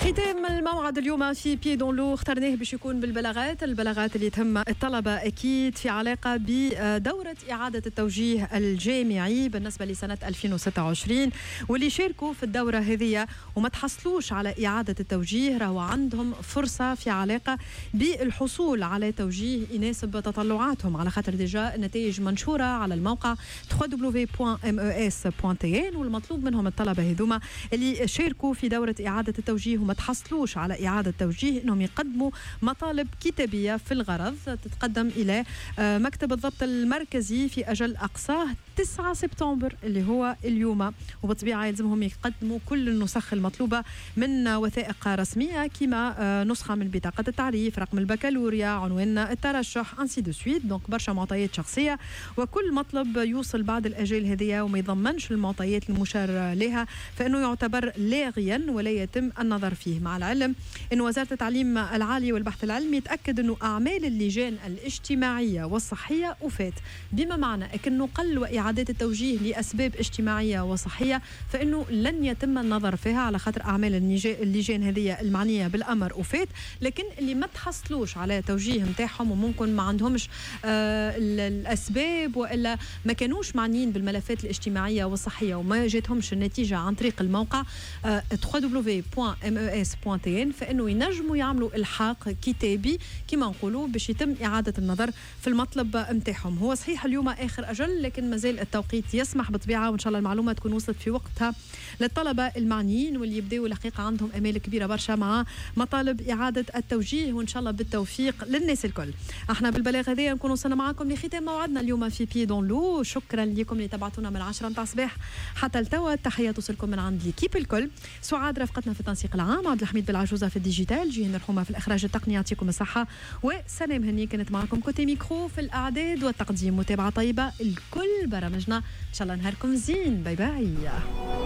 ختام الموعد اليوم في Pieds dans l'eau اخترناه باش يكون بالبلاغات، البلاغات اللي تهم الطلبة اكيد في علاقة بدوره اعاده التوجيه الجامعي بالنسبة لسنه 2026، واللي شاركوا في الدورة هذه وما تحصلوش على اعاده التوجيه راهو عندهم فرصة في علاقة بالحصول على توجيه يناسب تطلعاتهم، على خاطر déjà النتائج منشورة على الموقع www.mes.tn. والمطلوب منهم الطلبة هذوما اللي شاركوا في دوره اعاده التوجيه وما تحصلوش على إعادة توجيه أنهم يقدموا مطالب كتابية في الغرض تتقدم إلى مكتب الضبط المركزي في أجل أقصاه 9 سبتمبر اللي هو اليوم. وبالطبيعة يلزمهم يقدموا كل النسخ المطلوبة من وثائق رسمية كما نسخة من بطاقة التعريف، رقم البكالوريا، عنوان الترشح، ainsi de suite، donc برشا معطيات شخصية. وكل مطلب يوصل بعد الأجال هذه وما يضمنش المعطيات المشار لها فإنه يعتبر لاغيا ولا يتم النظر فيه. مع العلم أن وزارة التعليم العالي والبحث العلمي تأكد أنه أعمال اللجان الاجتماعية والصحية أوفات، بما معنى أنه نقل وإعادات التوجيه لأسباب اجتماعية وصحية فإنه لن يتم النظر فيها، على خاطر أعمال اللجان هذه المعنية بالأمر أوفات. لكن اللي ما تحصلوش على توجيه نتاعهم وممكن ما عندهمش الأسباب وإلا ما كانوش معنيين بالملفات الاجتماعية والصحية وما جاتهمش النتيجة عن طريق الموقع www.mes.tn، فإنه ينجموا يعملوا إلحاق كتابي كما نقولوا باش يتم إعادة النظر في المطلب نتاعهم. هو صحيح اليوم آخر أجل، لكن مازال التوقيت يسمح بالطبيعة، وإن شاء الله المعلومة تكون وصلت في وقتها للطلبة المعنيين واللي يبداوا الحقيقة عندهم أمال كبيرة برشا مع مطالب إعادة التوجيه، وإن شاء الله بالتوفيق للناس الكل. احنا بالبلاغ هذايا نكون وصلنا معكم لختام موعدنا اليوم في Pieds dans l'eau. شكرا لكم اللي تبعتونا من 10 نتاع الصباح حتى لتوا. التحية توصلكم من عند l'équipe الكل، سعاد رفقتنا في التنسيق العام، عبد الحميد بالعجوزه في ال digital، جيهان الرحومه في الاخراج التقني، يعطيكم الصحه، وسلام هني كانت معكم côté micro في الاعداد والتقديم. متابعه طيبة الكل برامجنا، ان شاء الله نهاركم زين. bye bye.